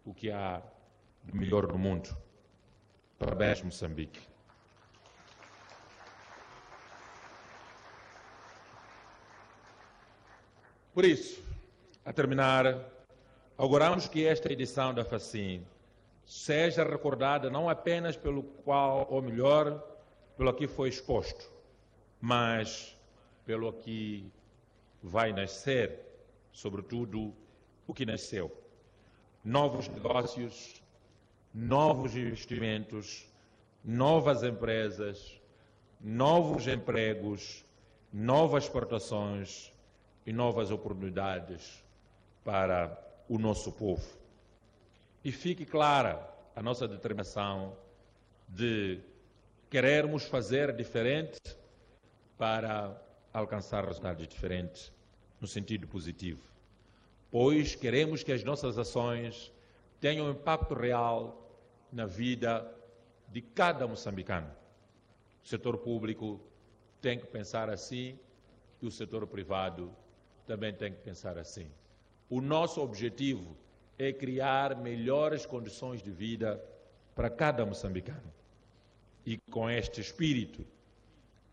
o que há de melhor no mundo. Parabéns, Moçambique. Por isso, a terminar, auguramos que esta edição da FACIM seja recordada não apenas pelo qual, ou melhor, pelo que foi exposto, mas pelo que vai nascer, sobretudo o que nasceu. Novos negócios, novos investimentos, novas empresas, novos empregos, novas exportações e novas oportunidades para o nosso povo. E fique clara a nossa determinação de querermos fazer diferente para alcançar resultados diferentes no sentido positivo, pois queremos que as nossas ações tenham um impacto real na vida de cada moçambicano. O setor público tem que pensar assim e o setor privado também tem que pensar assim. O nosso objetivo é criar melhores condições de vida para cada moçambicano. E com este espírito,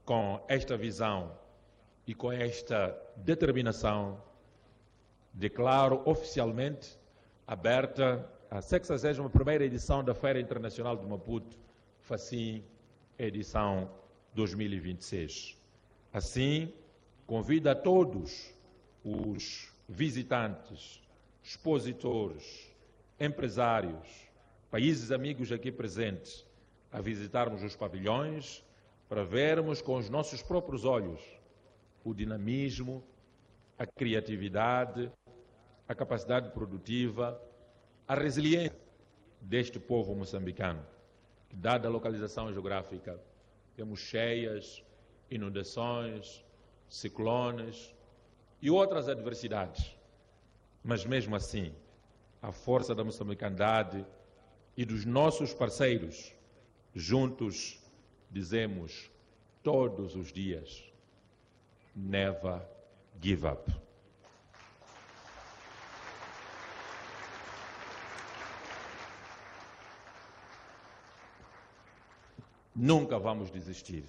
com esta visão e com esta determinação, declaro oficialmente aberta a 61ª edição da Feira Internacional de Maputo, FACIM, edição 2026. Assim, convido a todos os visitantes, expositores, empresários, países amigos aqui presentes, a visitarmos os pavilhões para vermos com os nossos próprios olhos o dinamismo, a criatividade, a capacidade produtiva, a resiliência deste povo moçambicano, que, dada a localização geográfica, temos cheias, inundações, ciclones e outras adversidades. Mas mesmo assim, a força da moçambicandade e dos nossos parceiros, juntos dizemos todos os dias: never give up. Nunca vamos desistir.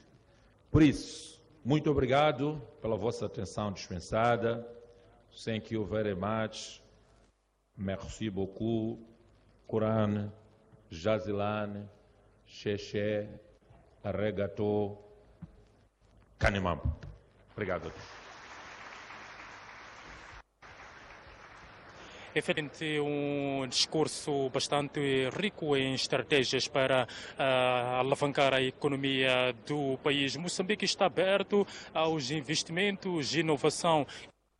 Por isso, muito obrigado pela vossa atenção dispensada. Thank you very much. Merci beaucoup. Quran, Jazilan, Xexé, Arregato, Kanimambo. Obrigado a todos. Efetivamente, um discurso bastante rico em estratégias para alavancar a economia do país. Moçambique está aberto aos investimentos, inovação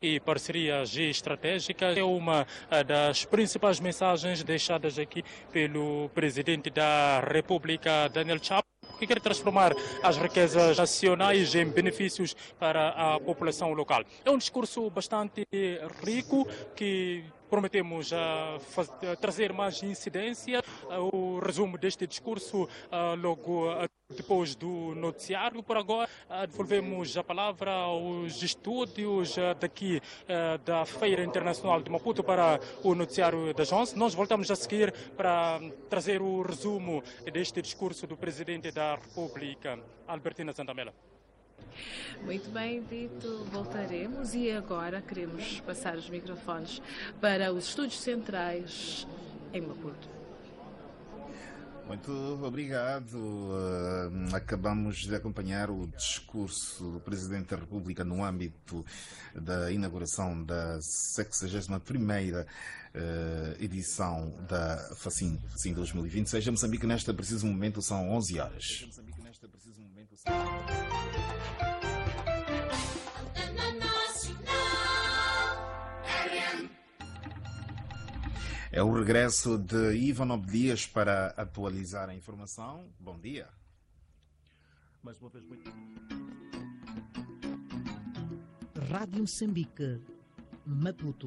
e parcerias estratégicas. É uma das principais mensagens deixadas aqui pelo presidente da República, Daniel Chapo, que quer transformar as riquezas nacionais em benefícios para a população local. É um discurso bastante rico que prometemos trazer mais incidência. O resumo deste discurso logo depois do noticiário. Por agora, devolvemos a palavra aos estúdios daqui da Feira Internacional de Maputo para o noticiário das 11. Nós voltamos a seguir para trazer o resumo deste discurso do Presidente da República, Albertina Zandamela. Muito bem, Brito, voltaremos e agora queremos passar os microfones para os estúdios centrais em Maputo. Muito obrigado. Acabamos de acompanhar o discurso do Presidente da República no âmbito da inauguração da 61ª edição da FACIM 2026. Em Moçambique, neste preciso momento, são 11 horas. É o regresso de Ivan Obdias para atualizar a informação. Bom dia. Mais uma vez, muito. Rádio Moçambique, Maputo.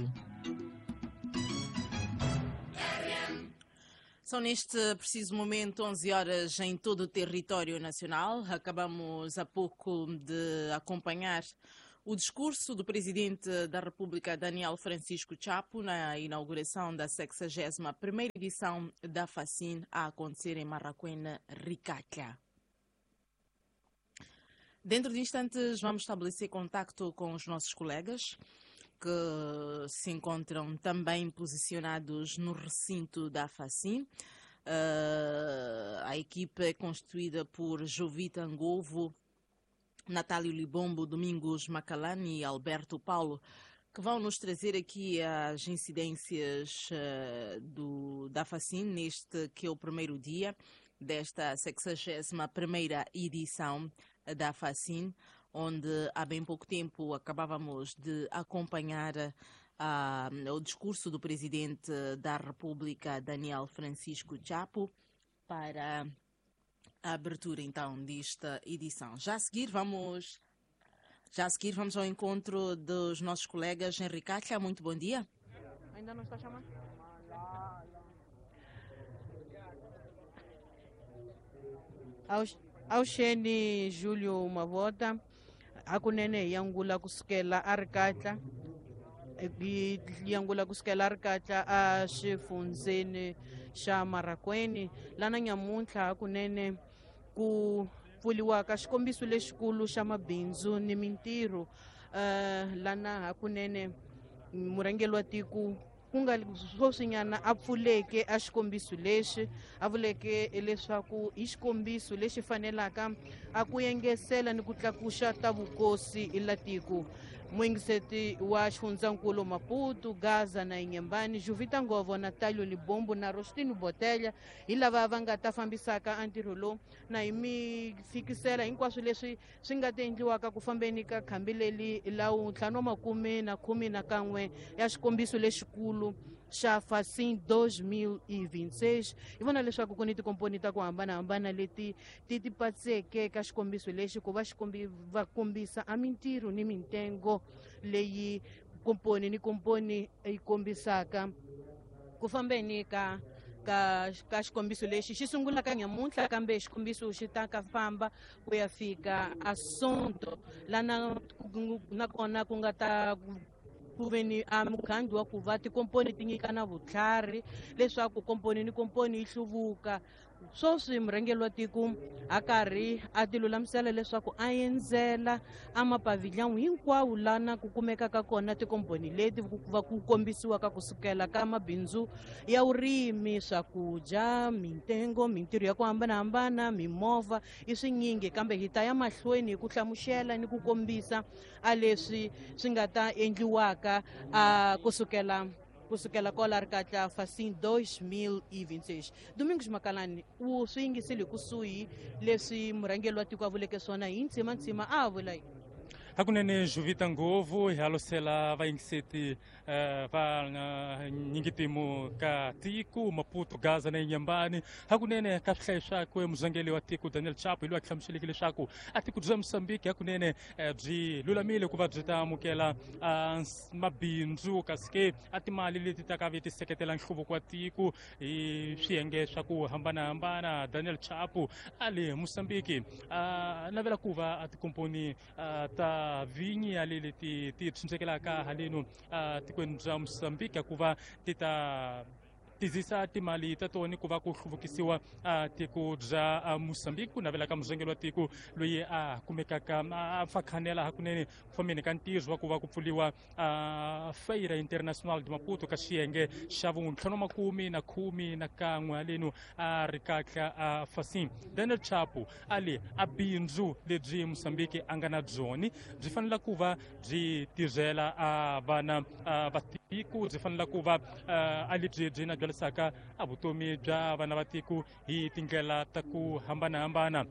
São neste preciso momento 11 horas em todo o território nacional. Acabamos há pouco de acompanhar O discurso do Presidente da República, Daniel Francisco Chapo, na inauguração da 61ª edição da FACIN, a acontecer em Marracuene, Ricatla. Dentro de instantes vamos estabelecer contacto com os nossos colegas que se encontram também posicionados no recinto da FACIN. A equipa é constituída por Jovita Angovo, Natálio Libombo, Domingos Macalani e Alberto Paulo, que vão nos trazer aqui as incidências da FACIN neste que é o primeiro dia desta 61ª edição da FACIN, onde há bem pouco tempo acabávamos de acompanhar o discurso do Presidente da República, Daniel Francisco Chapo, para a abertura então desta edição. Já a seguir vamos ao encontro dos nossos colegas. Henrique Caixa, muito bom dia. Ainda não está chamando? Auxeni Júlio Mavota, hakunene yangula kusukela a Ricatla, yangula kusukela a Ricatla a xifundzeni xa Marracuene, lana nyamuntlha hakunene ku pfuriwaka xikombiso lexikulu xa mabindzu ni mintirho, lana hakunene murhangeri wa tiko ku nga sweswinyana a pfuleke a xikombiso lexi, a vuleke leswaku i xikombiso lexi fanelaka a ku engesela ni ku tlakuxa ta vukosi la tiko. Muingiseti wa xifundzankulu Maputo, Gaza na Inhambane, Jovita Ngovo, Natálio Libombo na Rostino Botelha, hi lava va nga ta fambisaka a ntirho lowu na hi mi fikisela hinkwaswo leswi swi nga ta endliwaka ku fambeni ka khambi leri la 511 ya xikombiso lexikulu xa FACIN 2026. Hi vona leswaku ku ni tikomponi ta ku hambanahambana leti ti ti patseke ka xikombiso lexi ku va va kombisa a mintirho ni mintengo leyi komponi ni komponi yi kombisaka ku fambeni ka xikombiso lexi xi sungulaka nyamuntlha, kambe xikombiso xi ta ka famba ku ya fika a Sonto, lana nakona ku nga ta ku veni a mukhandlu wa ku va tikomponi ti nyikana vutlhari leswaku komponi ni komponi yi hluvuka. Sweswi murhangeri wa tiko a karhi a ti lulamisela leswaku a endzela a mapavilhão hinkwawo lana ku kumekaka kona tikomponi leti va ku kombisiwaka kusukela ka mabindzu ya vurimi, swakudya, mintengo, mintirho ya ku hambanahambana, mimovha i swinyingi, kambe hi ta ya mahlweni hi ku hlamusela ni ku kombisa a leswi swi nga ta endliwaka a kusukela kwala Ricatla FACIN 2026. Domingos Makalani u swi yingisile kusuhi leswi murhangeri wa tiko a vuleke swona hi ntsima a vula yini. Hakunene Jovita Ngovo hi halosela vayingiseti va nyingitimu ka tiko Maputo, Gaza na Inhambane. Hakunene ka swihlayi swakwe muzangeli wa tiko Daniel Chapo hi loyi a hlamuseleke leswaku a tiko bya Mozambique hakunene byi lulamile ku va byi ta amukela mabindzu, kasi ke a timali leti ta ka vi ti seketela nhluvuko wa tiko hi swiyenge swa ku hambanahambana. Daniel Chapo a le Mozambique a navela ku va a tikomponi ta vinyi ya leti ti tshunxekelaka haleno tikweni bya Mozambique ku va ti ta tizisa timali ta tona ku va ku hluvukisiwa tiko bya Mozambique. Ku navela ka muzangeli wa tiko loyi a kumekaka a fakhanela hakunene ku fambeni ka ntirho wa ku va ku pfuriwa Feira Internacional de Maputo ka xiyenge xa 511 haleno a Ricatla a FACIN. Daniel Chapo a le a bindzu lebyi Mozambique a nga na byoni byi fanele ku va byi tirhela a vana va tiko, byi fanele ku va a lebyi byi na byalisaka a vutomi bya vana va tiko hi tindlela ta ku hambanahambana.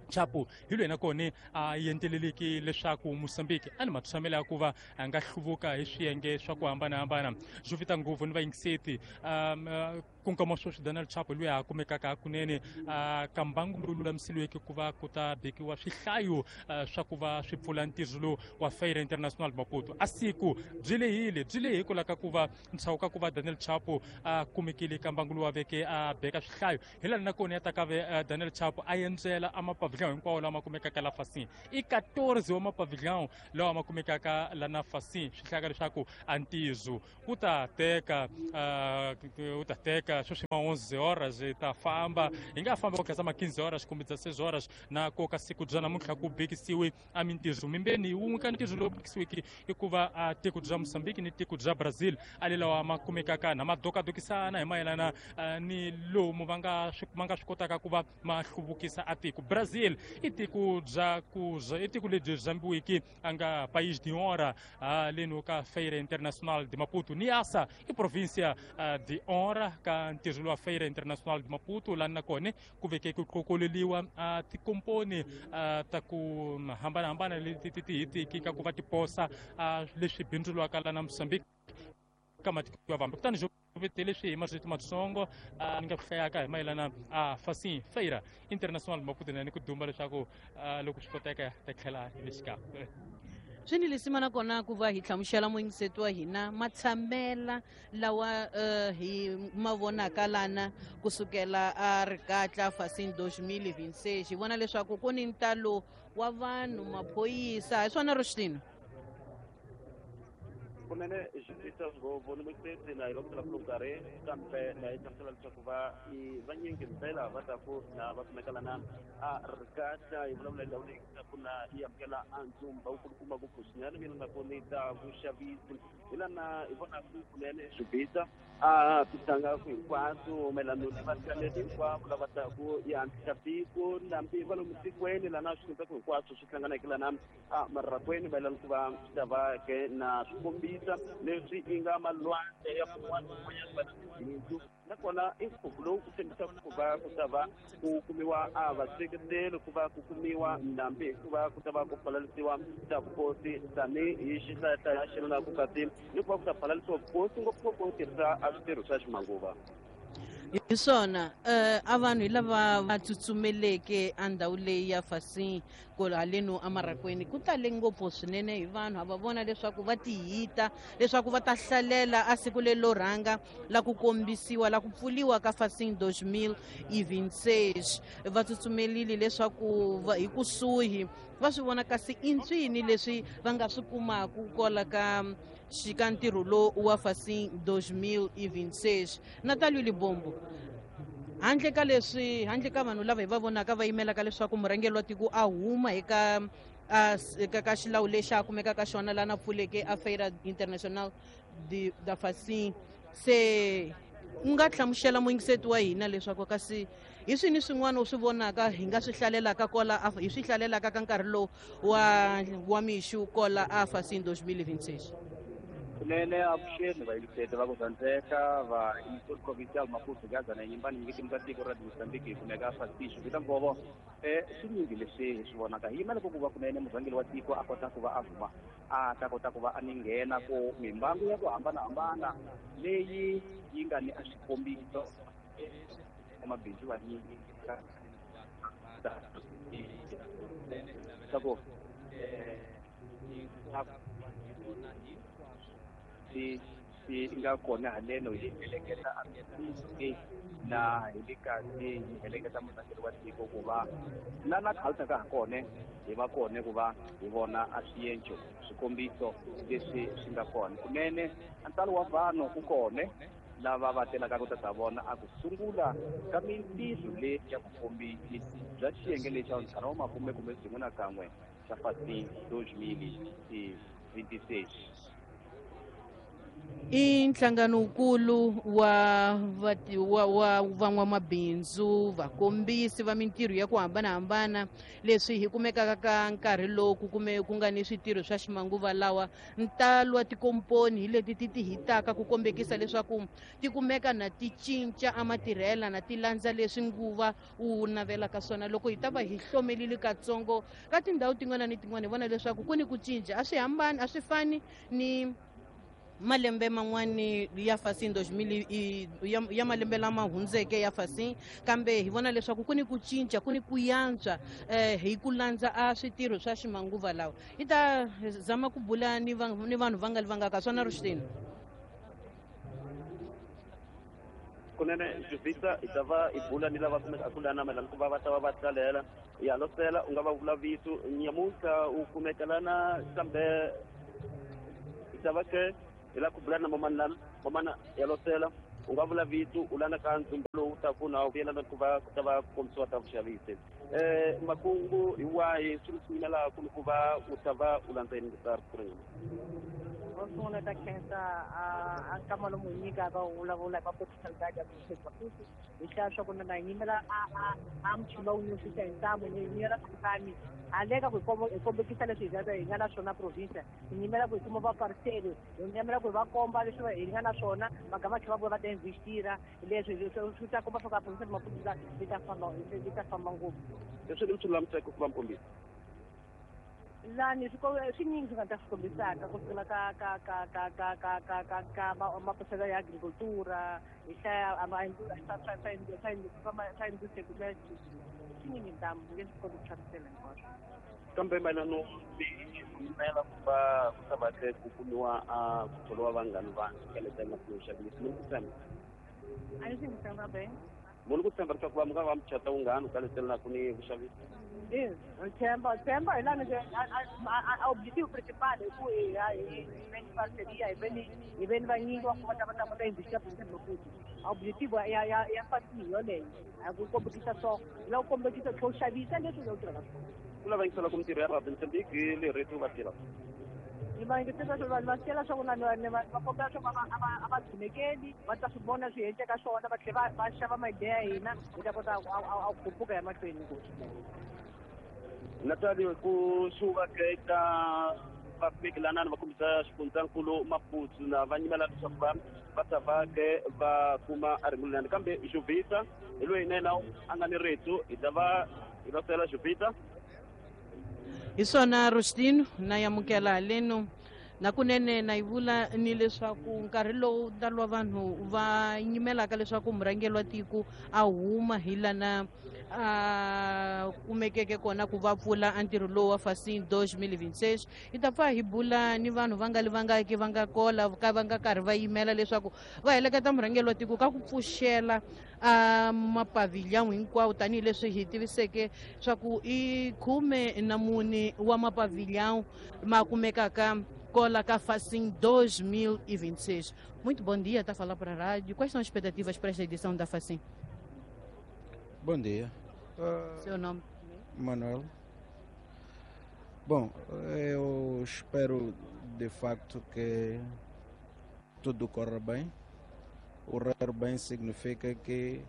Chapo hi loyi nakona a yenteleleki leswaku Mozambique a ni matshamelo ya ku va a nga hluvuka hi swiyenge swa ku hambanahambana. Jovita Ngovo ni vayingiseti ku nkama sweswi Daniel Chapo loyi a kumekaka hakunene ka mbangu lowu lulamisiweke ku va ku ta bekiwa swihlayo swa ku va swi pfula ntirho lowu wa Feira Internacional Maputo. A siku byi lehile byi lehe hikwalaho ka ku va ntshawu ka ku va Daniel Chapo a kumekile ka mbangu lowu a veke a beka swihlayo hi laha nakona ya ta ka ve Daniel Chapo a endzela a mapavilhão hinkwawo lama kumekaka la Facim i 14 wa mapavilhão lawa ma kumekaka la na Facim. Swi hlaka leswaku a ntizo wu ta teka sweswi ma 11 horas hi ta famba hi nga famba ku ma 15 horas kumbe 16 horas na koka siku bya namuntlha ku bekisiwe a mintizo mimbeni wun'we ka ntizo lowu bekisiweke i ku va a tiko bya Mozambique ni tiko bya Brazil a le lawa ma kumekaka na madokadokisana hi mayelana ni lomu va nga swi kotaka ku va ma hluvukisa a tiko. Brazil i tiko bya ku i tiko lebyi zambiwiki a nga país de honra leno ka Feira Internacional de Maputo. Niassa i província de honra ka ntirho wa Feira Internacional de Maputo laha na kona ku veke ku qokoleliwa tikomponi ta ku hambanahambana leti ti hitiki ka ku va tiposa leswi bindzuriwaka la na Mozambique ka matiko ya vambe. Kutani leswi hi marito matsongo ni nga ku hlayaka hi mayelana a Facim Feira Internacional Maputo na ni ku dumba leswaku loko swi koteka ta tlhela hi le xikarhi. Swi ni leswi mana kona ku va hi hlamusela muyingiseti wa hina matshamela lawa hi ma vonaka lana kusukela a Ricatla Facim 2026. Hi vona leswaku ku ni ntalo wa vanhu maphorisa hi swona Roshtino kunene xivita ngopfu ni muyingiseti na hi va ku nkarhi kambe na hi hlamusela leswaku va i vanyingi ndlela va ta ku na va kumeka lana a Ricatla hi vulavula hi ndhawu leyi ku na yi amukela a ndzumba wu kulukumba ngopfu swinene mina na koni ta vuxavisi hi lana hi vonaku kunene swibisa a tihlangaka hinkwaswo mayelana ni vahlaleri hinkwavo lava taku yi antswisa tiko nambi va lomu tikweni lana swi kumbeku hinkwaswo swi hlanganeke lana a marakweni mayelana ku va swi ta va ke na swikombiso leswi i nga malwandle ya kun'wana kun'wanyana va na tibindzu nakona i nkhuvo lowu ku tshembisaka ku va ku ta va ku kumiwa a vaseketeli ku va ku kumiwa ndhambi hikuva ku ta va ku pfalalisiwa ta vukosi tanihi xihlayahlaya xi ri na ku kasi ni ku va ku ta pfalalisiwa vukosi ngopfungopfu ku tirhisa a switirho swa ximanguva. Hi swona a vanhu hi lava va tsutsumeleke a ndhawu leyi ya Facim ku haleno emarakweni ku tale ngopfu swinene hi vanhu a va vona leswaku va tihita leswaku va ta hlalela a siku lelo rhanga la ku kombisiwa la ku pfuliwa ka Facim 2026. Va tsutsumelile leswaku hi kusuhi va swi vona kasi i ntswini leswi va nga swi kumaku kwala ka xika ntirho lowu wa Facim 2026. Natalio Libombo, handle ka leswi handle ka vanhu lava hi va vonaka va yimelaka leswaku murhangeri wa tiko a huma eka ka xilawu lexi a kumekaka xona lana pfuleke a Feira Internacional da Facim, se u nga hlamusela muyingiseti wa hina leswaku kasi hi swini swin'wana u swi vonaka hi nga swi hlalelaka kola hi swi hlalelaka ka nkarhi lowu wa mixu kola a Facim 2026? Kunene avuxeni vayingiseti va ku rhandzeka va Eastern Provincial Maputo Gaza na Nyimbani nyiketi ta tiko ra Mozambique hi kumeka Facim xivita ngovo swinyingi leswi hi swi vonaka hi yimela ku va kunene murhangeri wa tiko a kota ku va a huma a ta kota ku va a ni nghena ku mimbangu ya ku hambanahambana leyi yi nga ni a swikombiso mabindzu vanyingi leswaku swi nga kona haleno hi heleketa na hi le kasi hi heleketa murhangeri wa tiko ku va na la khalisa ha kona hi va kona ku va hi vona a swienco swikombiso leswi swi nga kona kunene ntalo wa vanhu ku kona lava va telaka ku ta vona a ku sungula ka mintirho leyi ya vukombisi bya xiyenge lexi xa ntlhanu wa makume kumbe byin'we na kan'we xa Facim 2026. I nhlanganokulu wa van'wamabindzu vakombisi va mintirho ya ku hambanahambana leswi hi kumekaka ka nkarhi lowu ku kume ku nga ni switirho swa ximanguva lawa ntalo wa tikomponi hi leti ti tihitaka ku kombekisa leswaku ti kumeka na ti cinca a matirhela na ti landza leswi nguva wu navelaka swona. Loko hi ta va hi hlomelile katsongo ka tindhawu tin'wana ni tin'wana hi vona leswaku ku ni ku cinca a swi hambani a swi fani ni malembe man'wani ya Facim 2000 ya malembe lama hundzeke ya Facim, kambe hi vona leswaku ku ni ku cinca ku ni ku yantswa hi ku landza a switirho swa ximanguva lawa. Hi ta zama ku bula ni vanhu va nga li va nga ka swona Roshtino. Kunene Jovita hi ta va hi bula ni lava kumeka ku lana mayelana ku va va ta va va tlalela ya losela u nga va vula vito nyamuntlha u kumeka lana kambe hi ta va ke hi lava ku bula na mamani lana mamana ya losela u nga vula vito u lana ka ndzumba lowu taku na vuyelana ku va ku ta va ku kombisiwa ta vuxavisi makungu hi wahi swilo swi yimela ku ni ku va u ta va u landza yini ta ri Ro sungula ta khensa a nkama lomu hi nyikaka u vulavula hi mapotisalidadi ya Maputo hi hlaya swa ku na hi yimela a muchini lowu nyusisa hi ntamu hi yimela kutani handle ka ku hi kombekisa leswi hi nga na swona province hi yimela ku hi kuma vaparceli hi yimela ku hi va komba leswi hi nga na swona magama tlhela va vuya va ta investira leswi swi ta komba swa ku a province ya Maputo yi ta famba yi ta famba ngopfu. Leswi ni swi lulamiseke ku va mkombisa lani swinyingi swi nga ta swi kombisaka ku sukela ka ka ka ka ka ka ka ka ka mapuraselo ya agricultura hi hlaya swa industry swinyingi ntamu nge swi koti ku hlamusela hinkwaswo. Kambe mayelana yimela ku va ku ta va ke ku kumiwa ku tholiwa vanghani va keleta emahlweni xavisi mi ni ku tshemba a ni swi ngi tshemba be munhu ku tshemba leswaku va mi nga va muchata wunghani ku kaletelelaka ni vuxavisi. Tshemba tshemba hi lani objective principal hi ku hi veni parceria hi veni vanyingi va ku va ta va ta kota investisa province Maputo. Objective ya ya ya fasi yoleyo a ku kombekisa so hi lava ku kombekisa tlhe u xavisa leswi u tirhaka swona. Ku lava yingisela ku mintirho ya Radio Mozambique le radio va tirha. Ni va yingisela swa vanhu va tela swa ku na va kombela swa a va dzunekeli va ta swi vona swi endleka swona va tlhela va xava maideya ya hina hi ta kota a khuphuka ya mahlweni ngopfu. Natalie ku suka eka va lana va kombisa xifundzankulu Maputo na va nyimela leswaku va ta va ke va kuma a ringulani kambe Jovita hi loyi na yena a nga ni rito hi ta va hi va sela Jovita. Hi swona Rostino na yamukela haleno nakunene na yi vula ni leswaku nkarhi lowu ntalo wa vanhu va yimelaka leswaku murhangeri wa tiko a huma hi lana a kumekeke kona ku va pfula a ntirho lowu wa Facim 2026 hi ta pfa hi bula ni vanhu va nga li vangaki va nga kola ka va nga karhi va yimela leswaku va heleketa murhangeri wa tiko ka ku pfuxela a mapavilhão hinkwawo tanihileswi hi tiviseke swa ku i 14 wa mapavilhão ma kumekaka kola ka Facim 2026. Muito bom dia, está a falar para a rádio. Quais são as expectativas para esta edição da Facim? Bom dia. Seu nome? Manuel. Bom, eu espero de facto que tudo corra bem. O correr bem significa que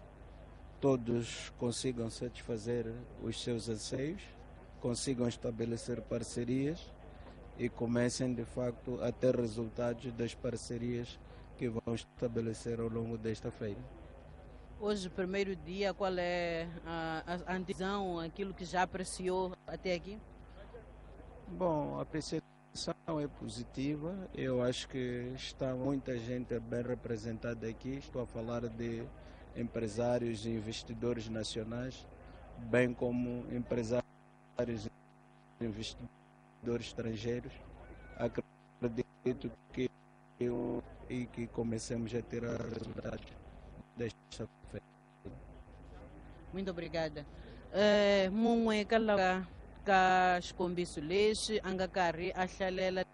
todos consigam satisfazer os seus anseios, consigam estabelecer parcerias e comecem de facto a ter resultados das parcerias que vão estabelecer ao longo desta feira. Hoje, primeiro dia, qual é a antevisão, aquilo que já apreciou até aqui? Bom, a apreciação é positiva. Eu acho que está muita gente bem representada aqui. Estou a falar de empresários e investidores nacionais, bem como empresários e investidores estrangeiros. Acredito que que comecemos a ter resultados desta feira. Muito obrigada. Mun'we ka lava ka xikombiso lexi a nga karhi a hlalela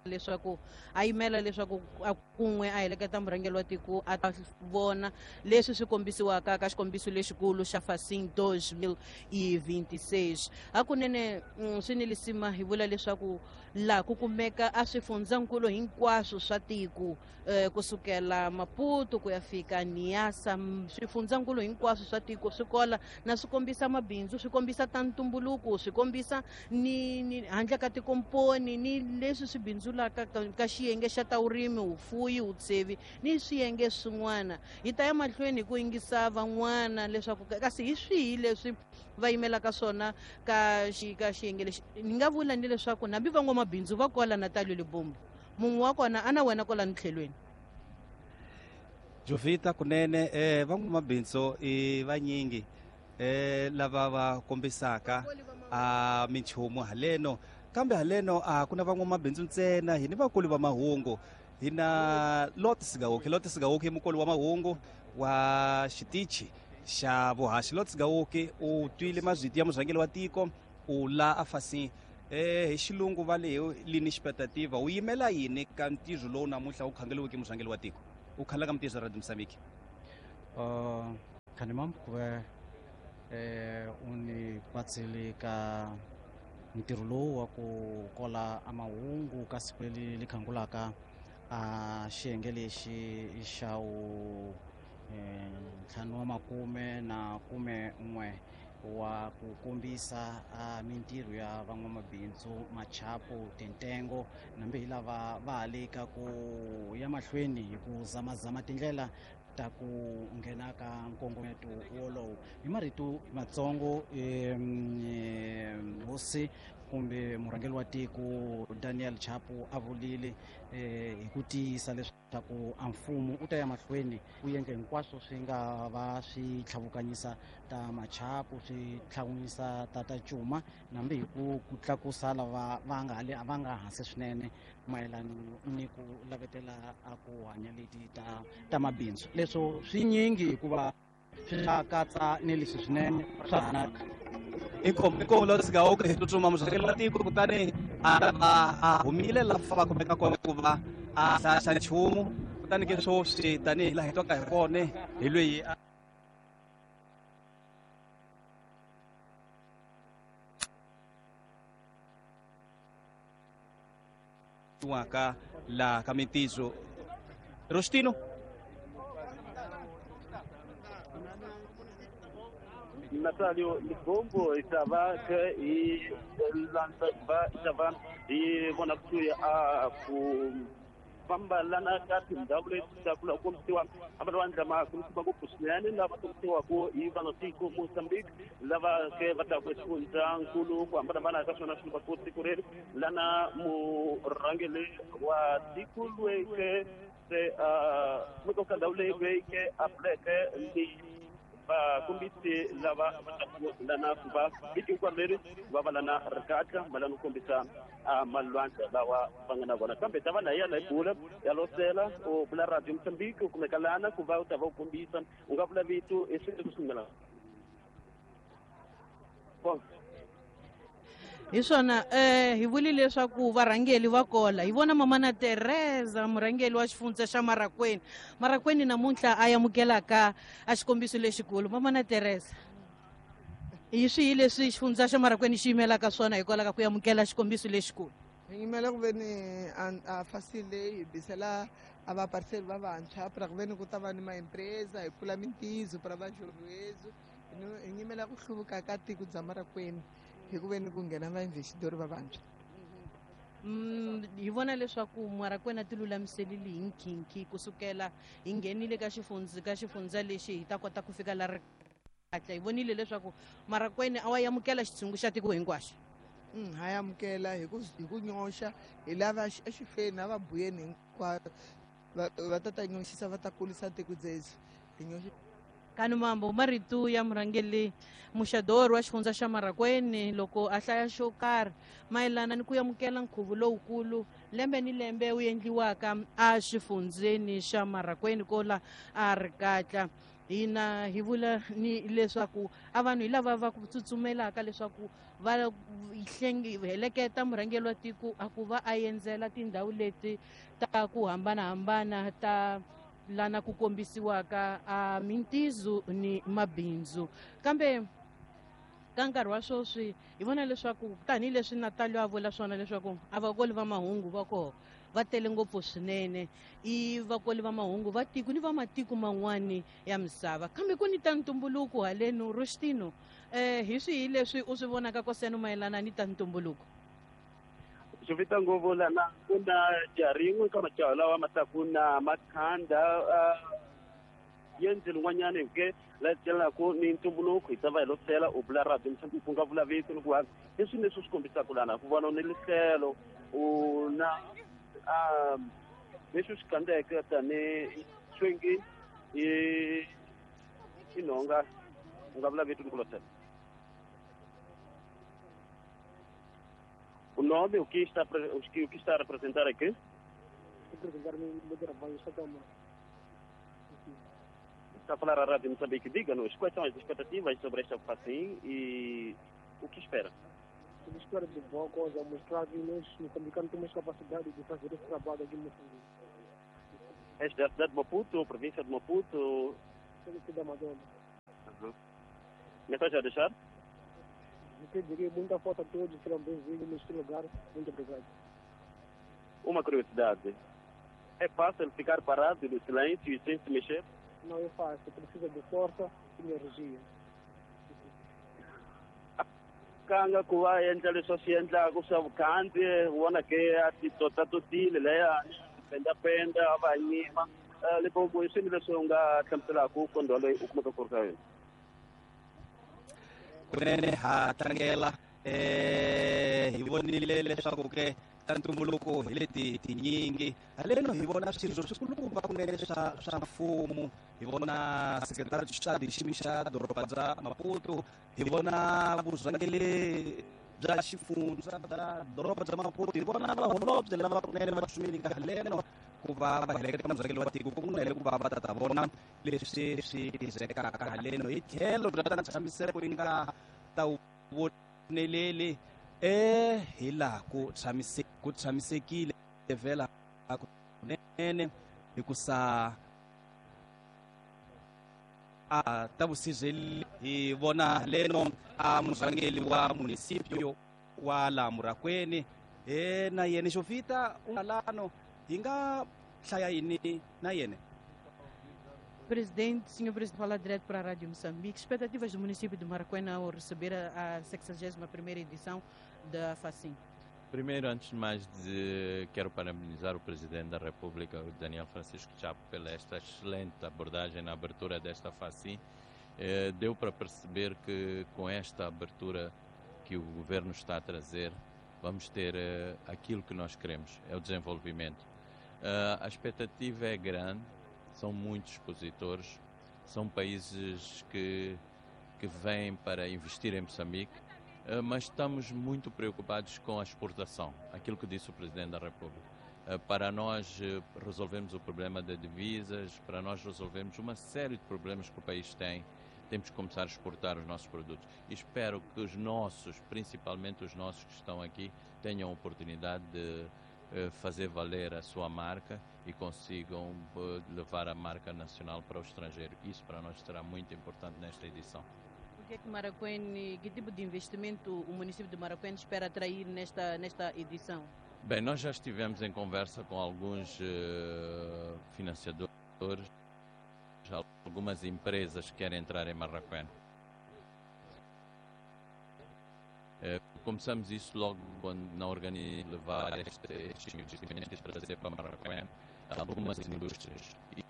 leswaku a yimela leswaku a kun'we a heleketa murhangeri wa tiko a ta vona leswi swi kombisiwaka ka xikombiso lexikulu xa Facim 2026. Hakunene swi ni lisima hi vula leswaku laha ku kumeka a swifundzankulu hinkwaswo swa tiko kusukela Maputo ku ya fika Niassa, swifundzankulu hinkwaswo swa tiko swi kola na swi kombisa mabindzu, swi kombisa ta ntumbuluko, swi kombisa ni handle ka tikomponi ni leswi swi bindzulaka ka xiyenge xa ta vurimi, vufuwi, vutsevi ni swiyenge swin'wana. Hi ta ya mahlweni hi ku yingisa van'wana leswaku kasi hi swihi leswi va yimelaka swona ka xiyenge lexi. Ni nga vula ni leswaku hambi van'wamabindzu va kola Natalio Libombo, mun'we wa kona ana wena kwala tlhelweni. Jovita kunene van'wamabindzu i vanyingi lava va kombisaka a minchumu haleno, kambe haleno a ku na van'wamabindzu ntsena, hi ni vakulu va mahungu. Hi na Lot Sigauke. Lot Sigauke i mukulu wa mahungu Wa xitichi xa vuhaxi Lots Gawuki u twile mazwiti ya murhangeri wa tiko u la a fasi hi xilungu va le lini expectativa u yimela yini ka ntirho lowu namuntlha wu khangeliweke murhangeri wa tiko u khala ka mintirho ya Radio Mozambique? Khanimam ku ve u ni patsile ka ntirho lowu wa ku kola a mahungu ka siku leri li khangulaka a xiyenge lexi xa wu 51 wa ku kombisa a mintirho ya van'wamabindzu machapo tintengo nambe hi lava va ha le ka ku ya mahlweni hi ku zamazama tindlela ta ku nghena ka nkongometo wolowo. Hi marito matsongo, hosi kumbe murhangeri wa tiko Daniel Chapo a vulile hi ku tiyisa leswaku a mfumo u ta ya mahlweni u endla hinkwaswo swi nga va swi tlhavukanyisa ta machapo, swi tlhavukanyisa ta cuma, nambe hi ku tlakusa lava va nga le va nga hansi swinene mayelana ni ku lavetela a ku hanya leti ta mabindzu. Leswo swinyingi hikuva swi katsa ni leswi swinene swa hanaka. Inkomu Lots Gawuki hi tsutsuma murhangeri wa tiko kutani a humile laha va kumeka kona ku va a hlahla nchumu kutani ke swoswi tanihi laha hi twaka hi kona hi lweyi waka la ka mintirho. Rostino Natalio Libombo itava ke i landza va itava hi vona kusuhi a ku famba lana ka tindhawu leti ta ku kombisiwa amalwandla ma kulukumba ngopfu swinene lava kombisiwaka hi van'watiko Mozambique lava ke va ta ku exifundzankulu ku hambanahambana ka swona swi va ku tiko reri lana murhangeri wa tiko loyi ke se kumeka ka ndhawu leyi loyi ke a pfuleke ni vakombisi lava va taku lana ku va vhiki hinkwaro leri va va lana rikatla va lana ku kombisa malwandla lawa va nga na vona. Kambe ta va na yena hi bula ya losela u vula Radio Mozambique u kumeka lana ku va u ta va u kombisa u nga vula vito i swilo leswi nga hi swona. Hi vuli leswaku varhangeri va kola hi vona Mamana Teresa murhangeri wa xifundza xa Marakwini. Marakwini namuntlha a amukelaka a xikombiso lexikulu. Mamana Teresa, hi swihi leswi xifundza xa Marakwini xi yimelaka swona hikwalaho ka ku amukela xikombiso lexikulu? Hi yimela ku ve ni a fasile hi bisela a vapariseli va vantshwa pra ku ve ni ku ta va ni maempresa hi pfula mintizo pra va xurhuezu. Hi yimela ku hluvuka ka tiko bya Marakwini hi ku ve ni ku nghena vainvestidori va vantshwa. Hi vona leswaku Marakwini a ti lulamiselile hi nkhinkhi kusukela hi nghenile ka xifundza lexi hi ta kota ku fika la ri kahle. Hi vonile leswaku Marakwini a wa amukela xitshungu xa tiko hinkwaxo. Ha amukela hi ku nyoxa hi lava exifeni a va buyeni hinkwaro va ta nyoxisa va ta kulisa tiko dzedzi hi nyoxa. Kanumambo marito ya murhangeri Muxadori wa xifundza xa Marakwini loko a hlaya xo karhi mayelana ni ku amukela nkhuvo lowukulu lembe ni lembe wu endliwaka a xifundzeni xa Marakwini kola a rikatla. Hina hi vula ni leswaku a vanhu hi lava va ku tsutsumelaka leswaku va heleketa murhangeri wa tiko a ku va a endzela tindhawu leti ta ku hambanahambana ta lana ku kombisiwaka a mintizo ni mabindzu. Kambe ka nkarhi wa sweswi hi vona leswaku tanihileswi Natalio a vula swona leswaku a vakoli va mahungu va koho va tele ngopfu swinene, i vakoli va mahungu va tiko ni va matiko man'wani ya misava. Kambe ku ni ta ntumbuluko haleno Rostino, hi swihi leswi u swi vonaka koseno mayelana ni ta ntumbuluko? Swi vita ngopfu lana ku na jaha rin'we ka majaha lawa ma taku na makhanda yendzeni n'wanyana ke la celaka ni ntumbuluko hi ta va hi losela u vula Radio Mozambique ku nga vula vito ni ku va leswi leswi swi kombisaka lana ku vona ni lihlelo u na leswi swi kandzeke tani swingi i nhonga u nga vula vito ni ku losela. O nome, o que está a representar aqui? Representar meu trabalho, só Está a falar à Rádio Moçambique. Diga-nos quais são as expectativas sobre esta FACIM e o que espera? Eu espero de boa coisa, mostrar que nós, moçambicanos, temos capacidade de fazer esse trabalho aqui em Moçambique. És da cidade de Maputo, província de Maputo? Sou da Madonna. Uhum. Mensagem a deixar? Eu diria muita força a todos, serão bem-vindos neste lugar. Muito obrigado. Uma curiosidade. É fácil ficar parado no silêncio e sem se mexer? Não é fácil, precisa de força e energia. Kanga ku va endla leswi a swi endlaka swa vukhandziyi vona ke a ti totatotile leya pendapenda a va nyima. Limpopo, i swini leswi u nga hlamuselaka kondwa loyi u kumeka ku ri ka yona? Kunene ha tlangela, hi vonile leswaku ke ta ntumbuluko hi leti tinyingi haleno hi vona swirho swikulukumba kunene swa mfumo, hi vona sekretari xa ximi xa doroba bya Maputo, hi vona vurhangeri bya xifundza bya doroba bya Maputo, hi vona vaholobye lava kunene va xumile ka haleno ku va va heleketa murhangeri wa tiko kunene ku va va ta vona leswi swi tirhekaka haleno hi tlhelo bya ta ntshamiseko yi nga ta voneleli hi laha ku tshamisekile vhela kunene hikusa a ta vusirheli hi vona leno a murhangeri wa municipio wa la Murakwini na yena Jovita lano hi nga hlaya yini na yena? Presidente, senhor Presidente, fala direto para a Rádio Moçambique. Expectativas do município de Marracuene ao receber a 61ª edição da FACIM. Primeiro, antes de mais, quero parabenizar o Presidente da República, o Daniel Francisco Chapo, pela esta excelente abordagem na abertura desta FACIM. Deu para perceber que com esta abertura que o governo está a trazer, vamos ter aquilo que nós queremos, é o desenvolvimento. A expectativa é grande. São muitos expositores, são países que vêm para investir em Moçambique, mas estamos muito preocupados com a exportação, aquilo que disse o Presidente da República. Para nós resolvermos o problema de divisas, para nós resolvermos uma série de problemas que o país tem, temos que começar a exportar os nossos produtos. E espero que os nossos, principalmente os nossos que estão aqui, tenham a oportunidade de fazer valer a sua marca e consigam levar a marca nacional para o estrangeiro. Isso para nós será muito importante nesta edição. O que é que Marracuene, que tipo de investimento o município de Marracuene espera atrair nesta edição? Bem, nós já estivemos em conversa com alguns financiadores, algumas empresas que querem entrar em Marracuene. Começamos isso logo quando na organização levar estes investimentos para trazer para Marracuene algumas indústrias. E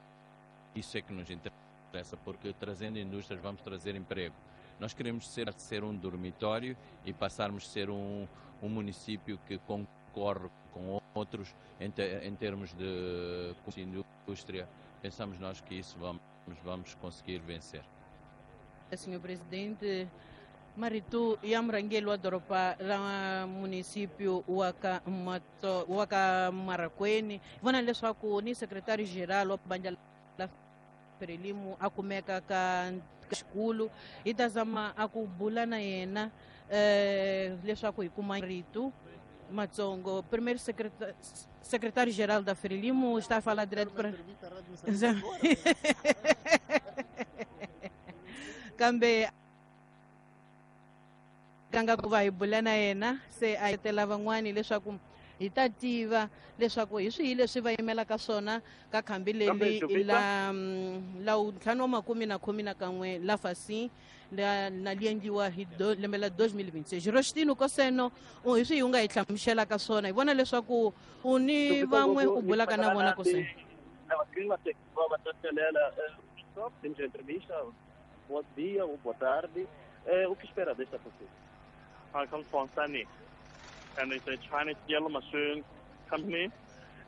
isso é que nos interessa, porque trazendo indústrias vamos trazer emprego. Nós queremos ser um dormitório e passarmos a ser um município que concorre com outros em termos de indústria. Pensamos nós que isso vamos conseguir vencer. Senhor Presidente, Maritu ya murhangeri wa doroba ra município wa ka Marracuene, vona leswaku ni secretário geral wa bandla la Frelimo a kumeka ka xikulu, hi ta zama a ku bula na yena leswaku hi kuma rito Matsongo. Primeiro secretário-geral da Frelimo está a falar direto para kambe kanga ku va hi bula na yena se a tela van'wani leswaku hi ta tiva leswaku hi swihi leswi va yimelaka swona ka khambi leri la 2011 la FACIM na li endliwa hi lembe la 2026. Rostino Koseno, hi swihi u nga hi hlamuselaka swona? Hi vona leswaku u ni van'we u bulaka na vona Koseno. Bom dia ou boa tarde. O que espera desta FACIM? I come from Sany, and it's a Chinese yellow machine company.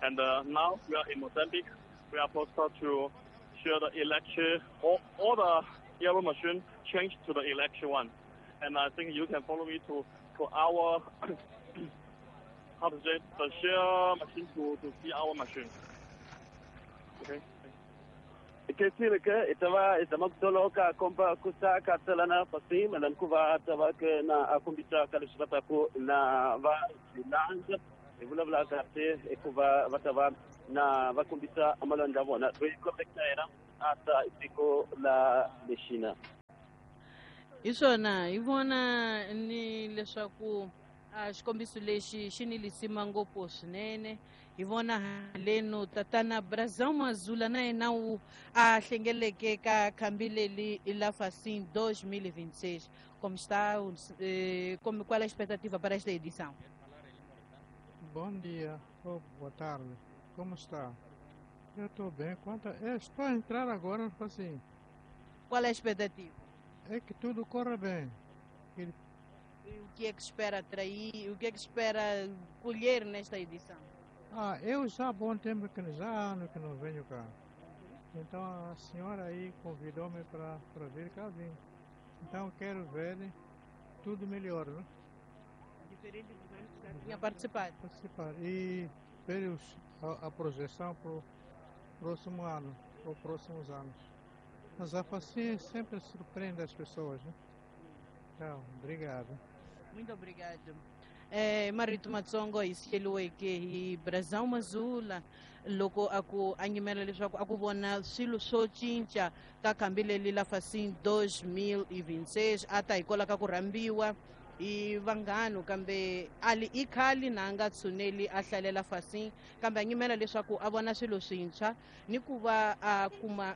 And now we are in Mozambique. We are supposed to share the electric, all the yellow machine change to the electric one. And I think you can follow me to our, how to say, the share machine to see our machine. Okay. Khensile ke hi ta va hi zama ku toloka komba ku ta ka tselana fasi mayelana ku va ta va ke na a kombisa ka leswi va taku na va swi landza hi vulavula kahle hikuva va ta va na va kombisa malwandla ya vona loyi kombeke na yena a ta hi tiko la lexina. Hi swona hi vona ni leswaku a xikombiso lexi xi ni lisima ngopfu swinene. Hi vona haleno tatana Brazão Mazula na yena wu a hlengeleke ka khambi leli la Facim 2026. Como está, como, qual é a expectativa para esta edição? Bom dia ou boa tarde. Como está? Eu estou bem. Eu estou a entrar agora, assim. Qual é a expectativa? É que tudo corra bem. O que é que espera atrair? O que é que espera colher nesta edição? Ah, eu já há bom tempo que já há anos que não venho cá. Então a senhora aí convidou-me para vir cá, vim. Então quero ver tudo melhor, né? Diferente dos anos que já tinha participado. Participar e ver a projeção para o próximo ano, ou próximos anos. Mas a Facim sempre surpreende as pessoas, né? Então, obrigado. Muito obrigado. Marito matsongo hi siyeliweke hi Brazão Mazula loko a ku a nyimela leswaku a ku vona swilo swo cinca ka khambi leli la Facim 2026 a ta hikwalaho ka ku rhambiwa hi vanghano kambe ali i khale na a nga tshuneli a hlalela Facim kambe a nyimela leswaku a vona swilo swintshwa ni ku va a kuma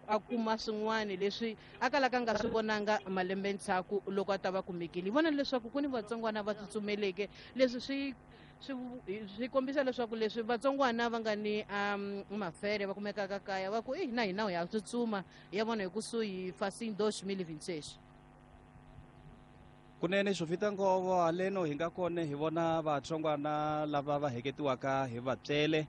a kuma swin'wana leswi a kalaka nga swi vonanga malembe ndzhaku loko a ta va kumekile. Hi vona leswaku ku ni vatsongwana va tsutsumeleke leswi swi kombisa leswaku leswi vatsongwana va nga ni mafere va kumekaka kaya va ku na hina ya tsutsuma ya vona hi kusuhi Facim 2026. Kunene Jovita Ngovo haleno hi nga kona hi vona vatsongwana lava va heketiwaka hi vatswele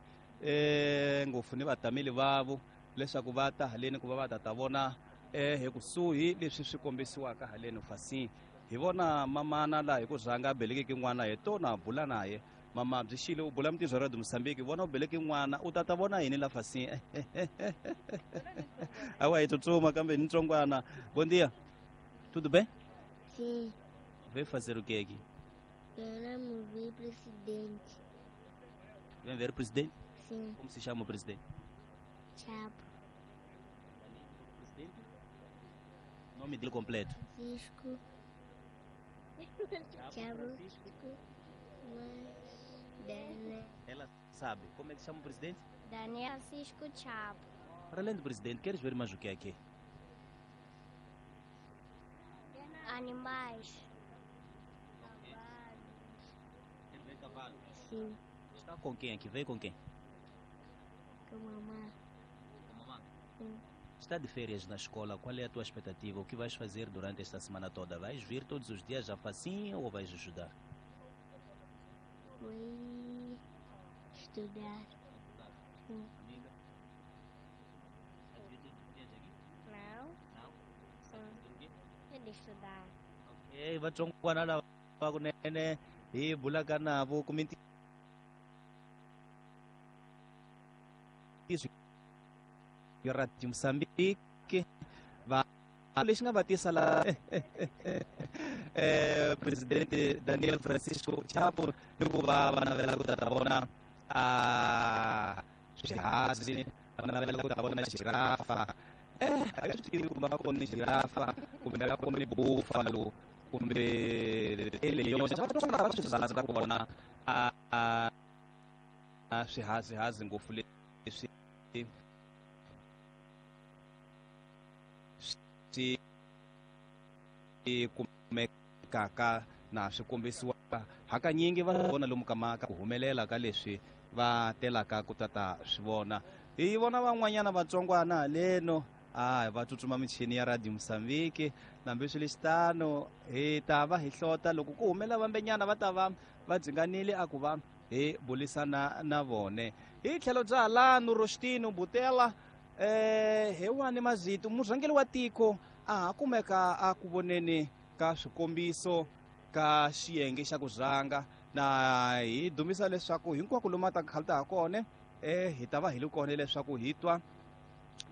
ngopfu ni vatameli vavo leswaku va ta haleni ku va va ta vona hi kusuhi leswi swi kombisiwaka haleni Facim. Hi vona mamana laha hi ku rhanga belekeke n'wana hi tona bula naye. Mama byi xile u bula mintirho ya Radio Mozambique, vona u beleke n'wana u ta vona yini la Facim? Awa hi tsutsuma kambe ni ntsongwana. Bom dia. Tudo bem? Sim. Veio fazer o que aqui? Queremos ver o presidente. Vem ver o presidente? Sim. Como se chama o presidente? Chapo. Presidente? Nome dele completo? Francisco. Chapo. Mas... Ela sabe. Como é que se chama o presidente? Daniel Francisco Chapo. Para além do presidente, queres ver mais o que aqui? Animais. Quer ver cavalos? Sim. Está com quem aqui? Veio com quem? Com a mamãe. Com a mamãe? Sim. Está de férias na escola, qual é a tua expectativa? O que vais fazer durante esta semana toda? Vais vir todos os dias à Facim ou vais ajudar? Vou estudar. Sim. Amiga? Vais vir todos os dias aqui? Não. Não? Sim. Fazer o quê? É de estudar. Ok, vatsongwana lava kunene hi bulaka navo ku mintirho ya Radio Mozambique va lexi nga va tisa la presidente Daniel Francisco Chapo ni ku va va navela ku ta vona swihazi va navela ku ta vona girafa. A nga swi tivi kumbe va kone girafa kumbe va kone buffalo kumbe eleyoxa va swi rhandza ku vona swihazihazi ngopfu leswi swi kumekaka na swi kombisiwaka hakanyingi va vona lomu ka maka ku humelela ka leswi va telaka ku tata swi vona. Hi vona van'wanyana vatsongwana haleno va tsutsuma michini ya Radio Mozambique nambi swi lexitano hi ta va hi hlota loko ku humela vambenyana va ta va va dzinganile a ku va hi bulisana na vone. Hi tlhelo bya halano Rostino Butela hi wani mazito murhangeri wa tiko a ha kumeka a ku voneni ka swikombiso ka xiyenge xa ku rhanga na hi dumisa leswaku hinkwako lomu a ta khalita ha kona hi ta va hi li kona leswaku hi twa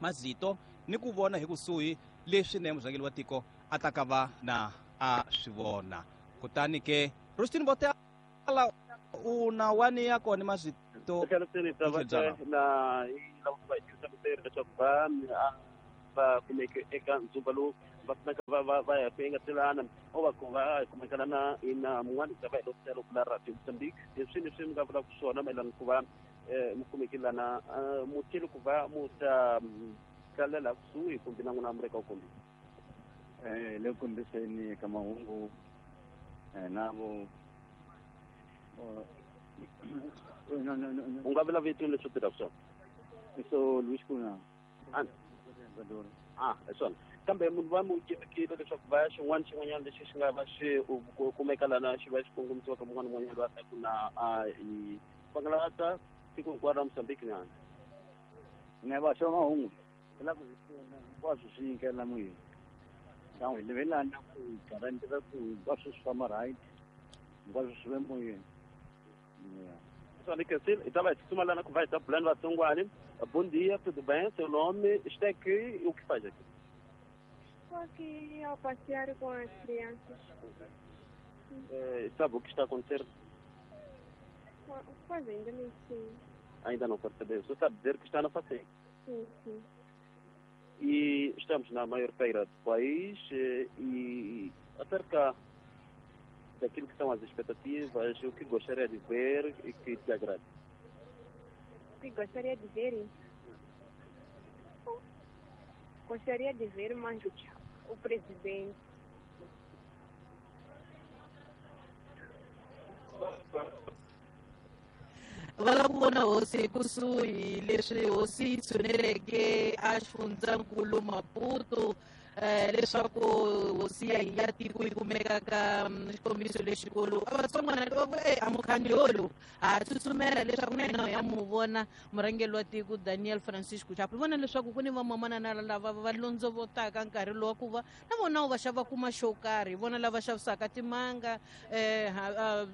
mazito ni ku vona hi kusuhi leswi ne murhangeri wa tiko a ta ka va na a swi vona. Kutani ke Rustin Botala u na wani ya kona mazito na leswaku va va kumeke eka ndzumba lowu va kumeka va ya ku engetelana o va ku va kumekana na ina mun'wana ta va hi loko la Radio Mozambique leswi leswi mi nga vulaka swona mayelana ku va mi kumekelana mutsheli ku va mu ta tlalela kusuhi kumbe na n'wina mi ri ka kumbe le kombiseni ka mahungu navo u nga vula vito leswi u tirhaka swona so Luis Kuna hi swona kambe munhu va mu yimekile leswaku va ya xin'wana xin'wanyana lexi xi nga va xi kumeka lana xi va xi kongomisiwaka mun'wana un'wanyana loyi a taku na hi pangalata tiko hinkwaro ra Mozambique nyana ne va xava mahungu la ku hinkwaswo swi nyikela moyeni kan'we hi levelana ku garantira ku hinkwaswo swi famba right hinkwaswo swi ve moyeni. Pessoal, hi ta va hi tsutsuma lana ku va hi ta bula ni vatsongwani. Bom dia, tudo bem? Seu nome? Está aqui e o que faz aqui? Estou aqui ao passear com as crianças. Sabe o que está a acontecer? Pois ainda nem sei. Ainda não percebeu. Só sabe dizer que está na FACIM. Sim, sim. E estamos na maior feira do país e acerca daquilo que são as expectativas, o que gostaria de ver e que te agrada? O que gostaria de ver? Gostaria de ver mais o presidente. Va lava ku vona hosi kusuhi leswi hosi yi tshuneleke a xifundzankulu Maputo leswaku hosi ya hina ya tiko yi kumeka ka xikombiso lexikulu. A vatsongwana va ku a mukhandziyi lowu ha tsutsumela leswaku na hina ya mu vona murhangeri wa tiko Daniel Francisco Chapo. Vona leswaku ku ni vamamanana lava va londzovotaka nkarhi lowu ku va na vona va xava kuma xo karhi, vona lava xavisaka timanga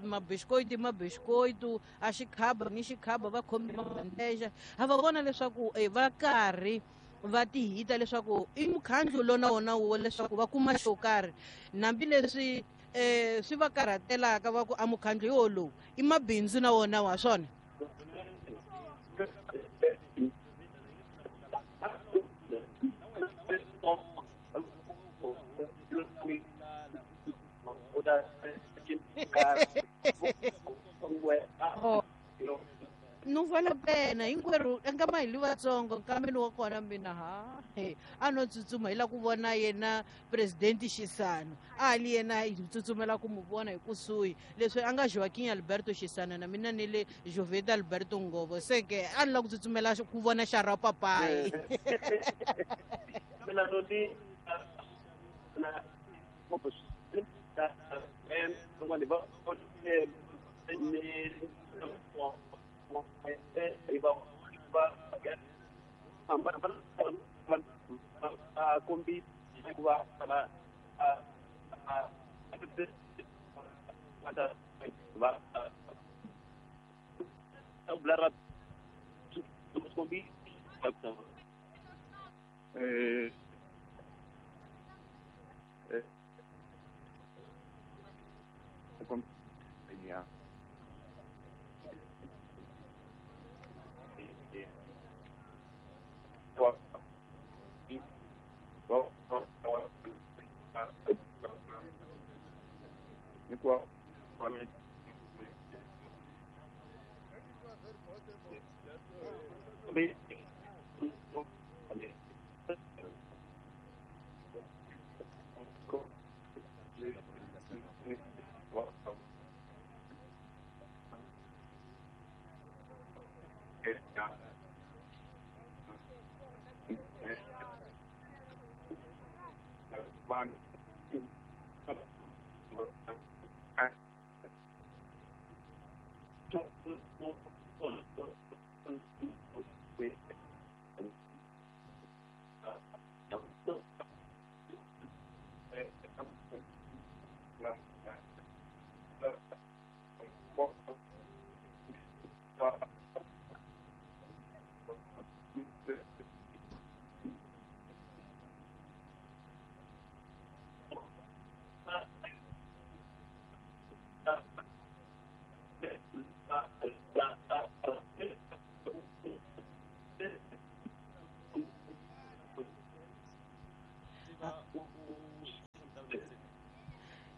mabisikoiti a xikhaba ni xikhaba va khomi mabandeja ha va vona leswaku va karhi va tihita leswaku i mukhandlu lona wona wo leswaku va kuma xo karhi hambileswi swi va karhatelaka va ku a mukhandlu yo lowu i mabindzu na wona wa swona. No vale a pena hinkwerhu nkama hi li vatsongo nkambeni wa kona mina ha a no tsutsuma hi la ku vona yena presidente Chissano a li yena hi tsutsumela ku mu vona hi kusuhi leswi a nga Joaquim Alberto Chissano na mina ni le Joveta Alberto Ngovo se ke a ni la ku tsutsumela ku vona xara papayi.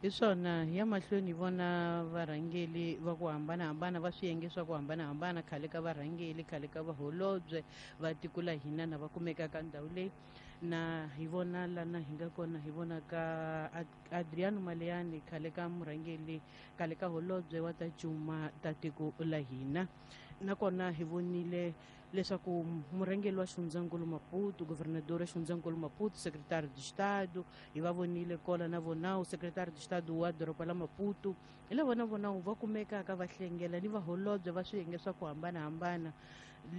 Hi swona hi ya mahlweni hi vona varhangeli va ku hambanahambana va swiyenge swa ku hambanahambana, khale ka varhangeli, khale ka vaholobye va tiko la hina na va kumeka ka ndhawu leyi. Na hi vona lana hi nga kona, hi vona ka Adriano Maleiane, khale ka murhangeli, khale ka holobye wa ta cuma ta tiko la hina. Nakona hi vonile leswaku murhangeri wa xifundzankulu Maputo, governador wa xifundzankulu Maputo, secretário de Estado, hi va vonile kola na vonawu, secretário de Estado wa doroba la Maputo, hi lava na vonawu va kumekaka va hlengela ni vaholobye va swiyenge swa ku hambanahambana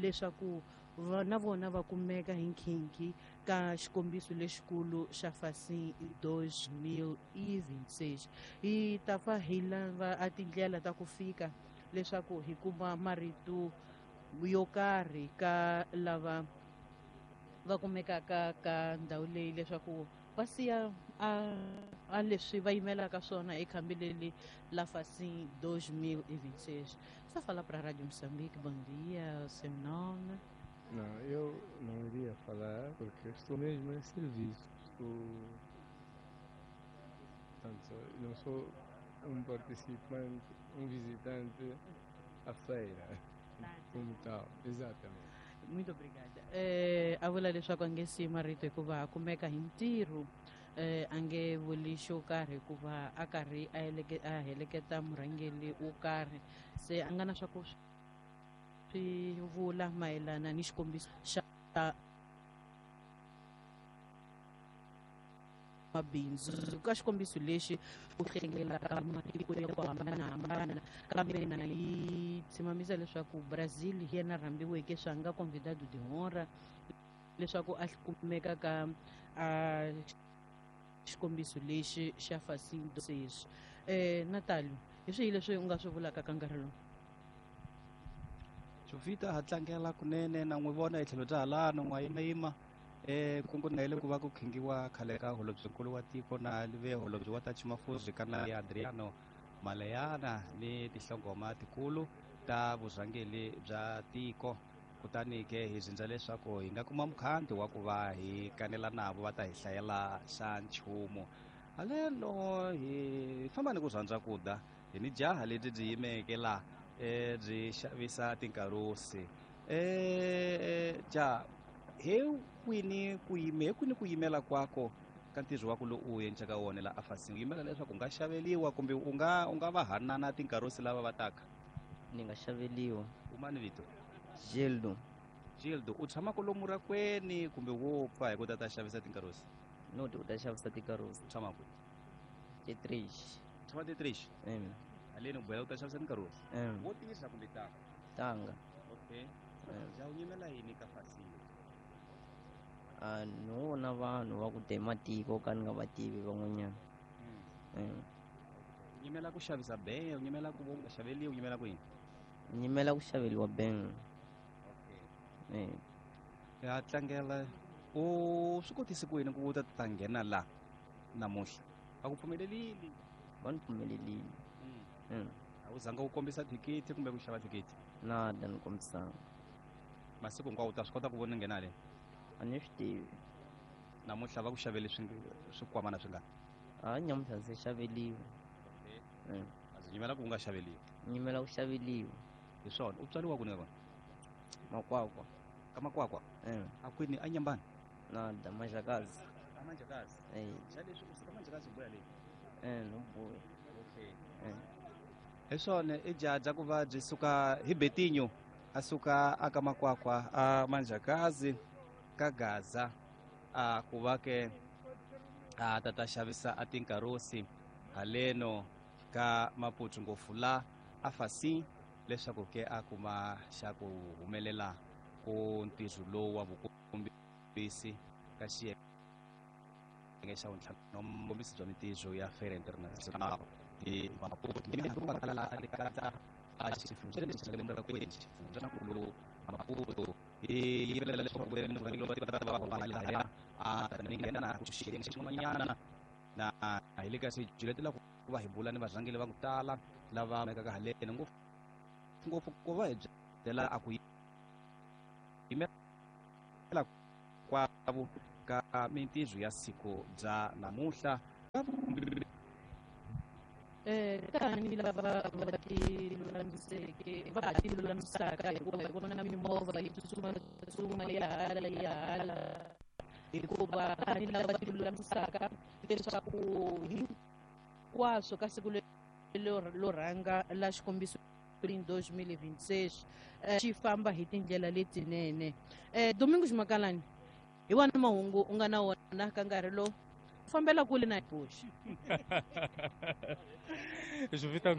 leswaku na vona va kumeka hi nkhinkhi ka xikombiso lexikulu xa Facim 2026. Hi ta fa hi lava a tindlela ta ku fika leswaku hi kuma marito yo karhi ka lava va kumekaka ka ndhawu leyi leswaku va siya a leswi va yimelaka swona ekhambi leri la Facim 2026. Está a falar para a Rádio Moçambique. Bom dia, o seu nome? Não, eu não iria falar porque estou mesmo em serviço. Portanto, não sou um participante, um visitante à feira, como tal, exatamente. Muito obrigada. A vula leswaku a nge siyi marito hikuva a kumeka hi ntirho, a nge vuli xo karhi hikuva a karhi a heleketa murhangeri wo karhi, se a nga na swa ku swi vula mayelana ni xikombiso xa mabindzu. Ka xikombiso lexi ku hlengelaka matiko ya ku hambanahambana, kambe na yi tshimamisa leswaku Brazil hi yena rhambiweke swa nga convidado de honra leswaku a kumeka ka a xikombiso lexi xa Facim 2026. Natalio, hi swihi leswi u nga swi vulaka ka nkarhi lowu? Jovita ha tlangela kunene na n'wi vona hi tlhelo bya halano n'wa yimayima kungu na ile ku va ku khingiwa khale ka holobyenkulu wa tiko na live holobye wa ta Chimafuzi kana ya Adriano Maleiane ni tinhlongoma tikulu ta vurhangeri bya tiko. Kutani ke hi zindza leswaku hi nga kuma mukhanti wa ku va hi kanela navo va ta hi hlayela xa nchumu. Haleno hi famba ni ku rhandza ku da hi ni jaha lebyi byi yimeke la byi xavisa tinkarusi. Ja he kwini ku yime he kwini ku yimela kwako ka ntirho wa ku lowu u endlaka wona la afasini, u yimela leswaku u nga xaveliwa kumbe u nga va hanana tinkarusi lava va taka? Ni nga xaveliwa. U mani vito? Gildo. Gildo, u tshama kwalomu rakweni kumbe wo pfa hi ku ta xavisa tinkarusi? No, u ta xavisa tinkarusi. U tshama kwihi? Tetrish. U tshama Tetrish? Haleni u boheka ku ta xavisa tinkarusi? Wo tirha kumbe tanga? Tanga. Okay. Ja u yimela yini ka Facim? No vona vanhu va ku ta matiko ka ni nga va tivi van'wanyana. U yimela ku xavisa beng, u yimela ku nga xaveliwi, u yimela ku yini? Ni yimela ku xaveliwa beng. Okay. Ya tlangela, u swi kotise ku yini ku u ta nghena la namuntlha? Va ku pfumelelile? Va ni pfumelelile. A wu zanga u kombisa thikithi kumbe ku xava thikithi? Nada, ni kombisanga. Masiku hinkwawo u ta swi kota ku vona nghena le? A ni swi tivi. Namuntlha va ku xavele swikwamana swi nga? A nyamuntlha ndzi xaveliwe. Okay. A ndzi yimela ku u nga xaveliwi. Ni yimela ku xaveliwa. Hi swona. U tswariwa kwini ka kona? Makwakwa. Ka Makwakwa? A kwini? A Nyambani? Nada, Manjakazi. A Manjakazi? Xa leswi u suka Manjakazi u buya leyi? No buya. Okay. Hi swona, i jaha ku va byi suka hi Betinho, a suka aka Makwakwa a Manjakazi ka Gaza, a ku va ke a ta xavisa a tinkarusi haleno ka Maputo ngopfu la a Facim leswaku ke a kuma xa ku humelela ku ntirho lowu wa vukombisi ka xiyenge xa vuntlhanu vukombisi bya mintirho ya Feira Internacional de Maputo. A xifundzeni xa le Murakwini, xifundzankulu Maputo yi yimelela leswaku murhangeri wa tiko ta va lahaya a ta nghena ku xiyenge xin'wanyana na hi le ka swijuletela ku va hi bula ni varhangeri va ku tala lava kumekaka haleni ngopfu ku va hi byela a ku yimela kwavo ka mintirho ya siku bya namuntlha. Tani lava va ti lulamiseke, va ha ti lulamisaka, hikuva hi vona mimovha yi tsutsuma tsutsuma ya hala ya hala, hikuva tani lava ti lulamisaka leswaku hinkwaswo ka siku lero rhanga la xikombiso 2026 xi famba hi tindlela letinene. Domingos Makalani, hi wona mahungu u nga na wona ka nkarhi lowu fambela kule na boxi. Jovita.